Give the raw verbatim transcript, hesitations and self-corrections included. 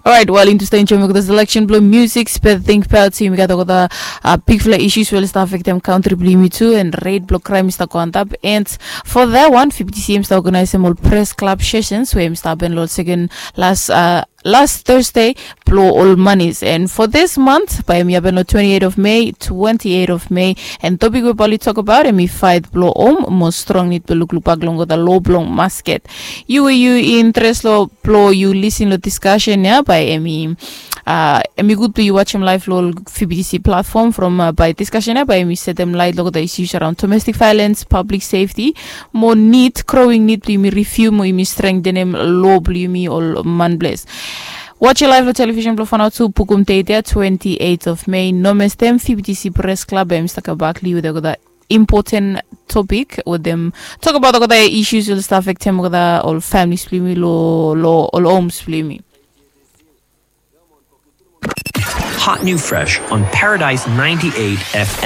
Orait, wel, yumi tu stap enjoim olgeta selection blong music, spe think about yumi gat olgeta bigfala issues we oli stap affectem kantri blong yumi tu, and rate blong crime i stap go antap. And for that one, fifty C M stap organizem ol press club sessions we em stap happen long second last uh, last Thursday blong ol manis. And for this month, bae em i happen long twenty-eight of May, twenty-eight of May. And topic we bae oli tok about em i fight blong home mo strong nid blong lukluk bak long olgeta law blong masket. Yu we yu interes long blong yu lisin long discussion ya, bae em i uh, em i gud blong yu wajem live long ol V B T C platform from uh, bae discussion ya bae em i setem light long olgeta issues around domestic violence, public safety, mo nid, growing nid blong yumi review mo yumi strengthenem law blong yumi ol manples. Watch live long television blong Fanau tu, Bukum date ya, twenty-eight of May. No mestem, V B T C Press Club em i stap kam bak long yu wetem olgeta important topic we dem tok about olgeta issues we oli stap affectem olgeta ol families blong yumi long ol homes blong yumi. Hot new fresh on Paradise ninety-eight F M.